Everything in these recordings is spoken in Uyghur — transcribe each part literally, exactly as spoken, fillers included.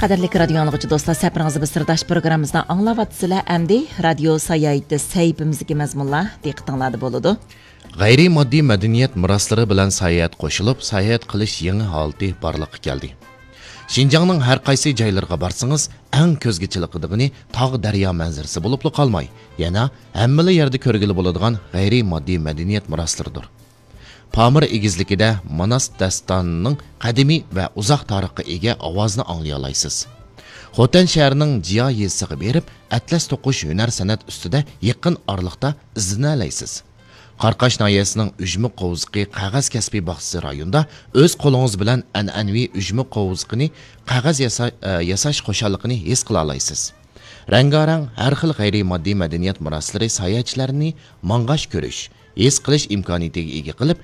قەدىرلىك رادىيو ئاڭلىغۇچى دوستلار، سەپىرىڭىزدە بىز سىرداش پروگراممىمىزنى ئاڭلاۋاتىسىلەر. ئەمدى رادىيو ساياھىتى سەھىپىمىزدىكى مەزمۇنلار دىققىتىڭلاردا بولىدۇ. غەيرىي ماددىي مەدەنىيەت مىراسلىرى بىلەن ساياھەت قوشۇلۇپ، ساياھەت قىلىش يېڭى ھالىتى بارلىققا كەلدى. شىنجاڭنىڭ ھەر قايسى جايلىرىغا بارسىڭىز، ئەڭ كۆزگە چېلىقىدىغىنى تاغ، دەريا مەنزىرىسى بولۇپلا قالماي، يەنە ھەممىلا يەردە كۆرگىلى بولىدىغان غەيرىي ماددىي مەدەنىيەت مىراسلىرىدۇر. پامىر ئېگىزلىكىدە ماناس داستانىنىڭ قەدىمىي ۋە ئۇزاق تارىخقا ئىگە ئاۋازىنى ئاڭلىيالايسىز. خوتەن شەھىرىنىڭ جىيا يېزىسىغا بېرىپ، ئەتلەس توقۇش ھۈنەر سەنئەت ئۈستىدە يېقىن ئارىلىقتا ئىزدىنەلەيسىز. قاراقاش ناھىيەسىنىڭ ئۈجمە قوۋزىقى قەغەز كەسپى باغچىسى رايونىدا ئۆز قولىڭىز بىلەن ئەنئەنىۋى ئۈجمە قوۋزىقىنى قەغەز ياسا-، ئە، ياساش خۇشاللىقىنى ھېس قىلالايسىز. رەڭگارەڭ ھەر خىل غەيرىي ماددىي مەدەنىيەت مىراسلىرى ساياھەتچىلەرنى ماڭغاش كۆرۈش، ھېس قىلىش ئىمكانىيىتىگە ئىگە قىلىپ،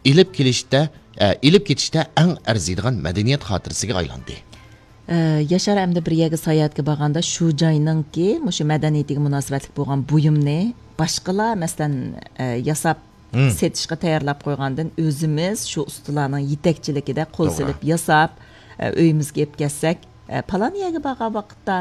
ئېلىپ كېلىشتە، ئە، ئېلىپ كېتىشتە ئەڭ ئەرزىيدىغان مەدەنىيەت خاتىرىسىگە ئايلاندى. ئە، ياشار ئەمدى بىر يەرگە ساياھەتكە بارغاندا شۇ جاينىڭكى مۇشۇ مەدەنىيىتىگە مۇناسىۋەتلىك بولغان بۇيۇمنى باشقىلار، مەسىلەن، ئە، ياساپ مم. سېتىشقا تەييارلاپ قويغاندىن ئۆزىمىز شۇ ئۇستىلارنىڭ يېتەكچىلىكىدە قول توغرا. سېلىپ ياساپ، ئە، ئۆيىمىزگە ئېلىپ كەلسەك، ئە، پالان يەرگە بارغان ۋاقىتتا،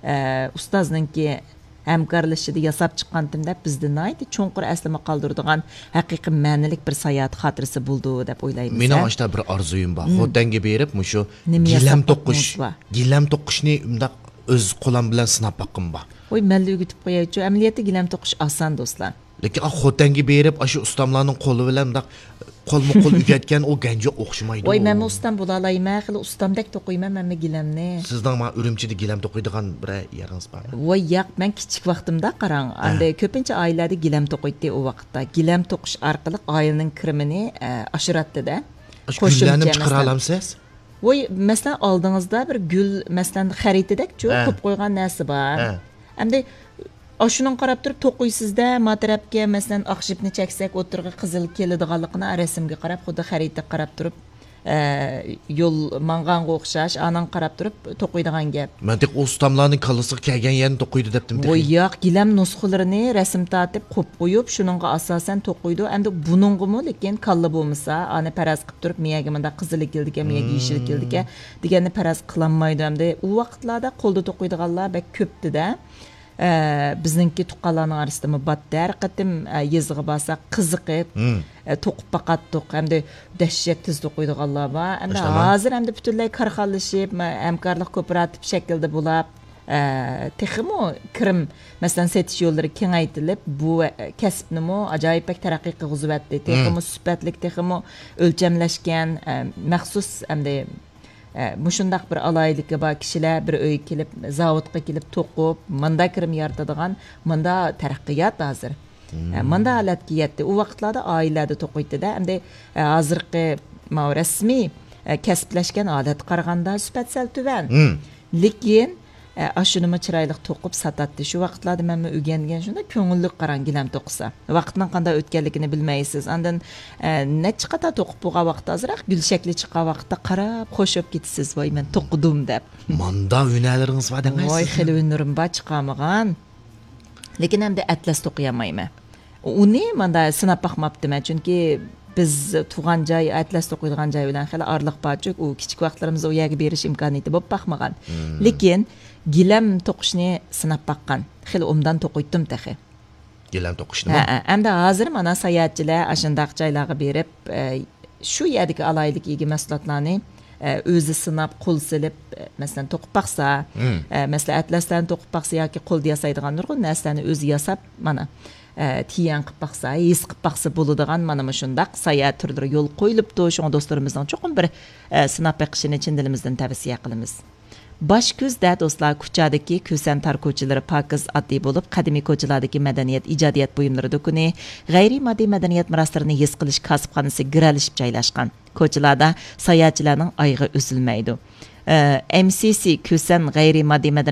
ئە، ئۇستازنىڭكى ھەمكارلىشىشىدا ياساپ چىققانتىم دەپ، بىزدە ناھايىتى چوڭقۇر ئەسلىمە قالدۇرىدىغان ھەقىقىي مەنىلىك بىر ساياھەت خاتىرىسى بولىدۇ دەپ ئويلايمىز، مېنىڭ ھە؟ ئاشتا بىر ئارزۇيۇم بار. مم. خوتەنگە بېرىپ، مۇشۇ نېمە گىلەم ياساپ توقۇش، باقمىڭىز بار؟ گىلەم توقۇشنى مۇنداق ئۆز قولۇم بىلەن سىناپ باققۇم بار. ۋوي، مەنلا ئۆگىتىپ قويايچۇ. ئەمەلىيەتتە گىلەم توقۇش ئاسان، دوستلار. لېكىن، ئا، خوتەنگە بېرىپ، ئاشۇ ئۇستاملارنىڭ قولى بىلەن مۇنداق قولمۇ قول ئۆگەتكەن ئۇ گەنجى ئوخشىمايدۇ. ۋاي، مەنمۇ ئۇستام بولالايمەن، خېلى ئۇستامدەك توقۇيمەن مەنمۇ گىلەمنى. سىزنىڭ ما ئۈرۈمچىدە گىلەم توقۇيدىغان بىرەر يېرىڭىز بارمۇ؟ ۋاي، ياق، مەن كىچىك ۋاقتىمدا قاراڭ، ھە. ئەمدى كۆپىنچە ئائىلىلەردە گىلەم توقۇيتتى ئۇ ۋاقىتتا. گىلەم توقۇش ئارقىلىق ئائىلىنىڭ كىرىمىنى، ئە، ئاشۇراتتى-دە. ئاشۇ قوشۇمچە گۈللەرنىمۇ مەسىلەن. چىقىرالامسىز؟ ۋوي، مەسىلەن، ئالدىڭىزدا بىر گۈل، مەسىلەن، خەرىتىدەكچۇ، ھە. قويۇپ قويغان نەرسە بار. ھە. ئەمدى ئاشۇنىڭغا قاراپ تۇرۇپ توقۇيسىزدە، ما تەرەپكە، مەسىلەن، ئاق جىپنى چەكسەك، ئوتتۇرىغا قىزىل كېلىدىغانلىقىنى رەسىمگە قاراپ، خۇددى خەرىتىگە قاراپ تۇرۇپ، ئە، يول ماڭغانغا ئوخشاش، ئانىڭغا قاراپ تۇرۇپ توقۇيدىغان گەپ. مەن تېخى ئۇ ئۇستاملارنىڭ كاللىسىغا كەلگەن يەرنى توقۇيدۇ دەپتىم تېخى. ۋوي، ياق، گىلەم نۇسخىلىرىنى رەسىم تارتىپ، قويۇپ قويۇپ، شۇنىڭغا ئاساسەن توقۇيدۇ. ئەمدى بۇنىڭغىمۇ، لېكىن كاللا بولمىسا، ئانى پەرەز قىلىپ تۇرۇپ، مېيەگە مۇنداق قىزىل كېلىدىكەن، مېيەگە يېشىل كېلىدىكەن دېگەننى پەرەز قىلالمايدۇ. ئەمدى ئۇ ۋاقىتلاردا قولدا توقۇيدىغانلار بەك كۆپتىدە. ئە، بىزنىڭكى تۇغقانلارنىڭ ئارىسىدىمۇ بار. ھەر قېتىم، ئە، يېزىغا بارساق قىزىقىپ، مم. ئە، توقۇپ باقاتتۇق. ئەمدى دەھشەت تېز توقۇيدىغانلار بار. ئەمدى ماشائاللا. ھازىر ئەمدى پۈتۈنلەي كارخانىلىشىپ، مە-، ھەمكارلىق كوپىراتىپ شەكلىدە بولاپ، ئە، تېخىمۇ كىرىم، مەسىلەن، سېتىش يوللىرى كېڭەيتىلىپ، بۇ، ئە، كەسىپنىمۇ ئاجايىپ بەك تەرەققىي قىلغۇزۇۋەتتى. مم. تېخىمۇ سۈپەتلىك، تېخىمۇ ئۆلچەملەشكەن، ئە، مەخسۇس ئەمدى ئە، مۇشۇنداق بىر ئالاھىدىلىكى بار كىشىلەر بىر ئۆيگە كېلىپ، زاۋۇتقا كېلىپ توقۇپ، ماندا كىرىم يارىتىدىغان، ماندا تەرەققىيات ھازىر. ئە، ماندا ھالەتكە يەتتى. ئۇ ۋاقىتلاردا ئائىلىلەردە توقۇيتتى-دە. ئەمدى، ئە، ھازىرقى ماۋۇ رەسمىي، ئە، كەسىپلەشكەن ھالەتكە قارىغاندا سۈپەت سەل تۆۋەن. لېكىن، ئە، ئاشۇنىمۇ چىرايلىق توقۇپ ساتاتتى. شۇ ۋاقىتلاردا مەنمۇ ئۆگەنگەن، شۇنداق كۆڭۈللۈك قاراڭ گىلەم توقۇسا. ۋاقىتنىڭ قانداق ئۆتكەنلىكىنى بىلمەيسىز. ئاندىن، ئە، نەچچە قاتا توقۇپ بولغان ۋاقىتتا، ئازراق گۈل شەكلى چىققان ۋاقىتتا قاراپ خوش بولۇپ كېتىسىز، ۋاي، مەن توقۇدۇم دەپ. ماندا ھۈنەرلىرىڭىز بار دەڭە ۋاي، سىزنىڭ. خېلى ھۈنىرىم بار، چىقارمىغان. لېكىن ئەمدى ئەتلەس توقۇيالمايمەن. ئۇنى ماندا سىناپ باقماپتىمەن، چۈنكى بىز تۇغان جاي، ئەتلەس توقۇيدىغان جاي بىلەن خېلى ئارىلىق بارچۇ، ئۇ كىچىك ۋاقىتلىرىمىزدا ئۇ يەرگە بېرىش ئىمكانىيىتى بولۇپ باقمىغان. لېكىن گىلەم توقۇشنى سىناپ باققان. خېلى ئوبدان توقۇيتتۇم تېخى. گىلەم توقۇشنىمۇ؟ ھە، ھە. ئەمدى ھازىر مانا ساياھەتچىلەر ئاشۇنداق جايلارغا بېرىپ، ئە، شۇ يەردىكى ئالاھىدىلىككە ئىگە مەھسۇلاتلارنى، ئە، ئۆزى سىناپ، قول سېلىپ، ئە، مەسىلەن، توقۇپ باقسا، ئە، مەسىلەن، ئەتلەسلەرنى توقۇپ باقسا ياكى قولدا ياسايدىغان نۇرغۇن نەرسىلەرنى ئۆزى ياساپ، مانا، ئە، تىيەن قىلىپ باقسا، ھېس قىلىپ باقسا بولىدىغان مانا مۇشۇنداق ساياھەت تۈرلىرى يولغا قويۇلۇپتۇ. شۇڭا دوستلىرىمىزنىڭ چوقۇم بىر، ئە، سىناپ بېقىشىنى چىن دىلىمىزدىن تەۋسىيە قىلىمىز. باش كۈزدە، دوستلار، كۇچادىكى كۈسەن تار كوچىلىرى پاكىز، ئاددىي بولۇپ، قەدىمىي كوچىلاردىكى مەدەنىيەت، ئىجادىيەت بۇيۇملىرى دۇكىنى، غەيرىي ماددىي مەدەنىيەت مىراسلىرىنى ھېس قىلىش كاسىپخانىسى گىرەلىشىپ جايلاشقان. كوچىلاردا ساياھەتچىلەرنىڭ ئايىغى ئۈزۈلمەيدۇ. ئە، ئېم سى سى كۈسەن غەيرىي ماددىي مەدەنىيەت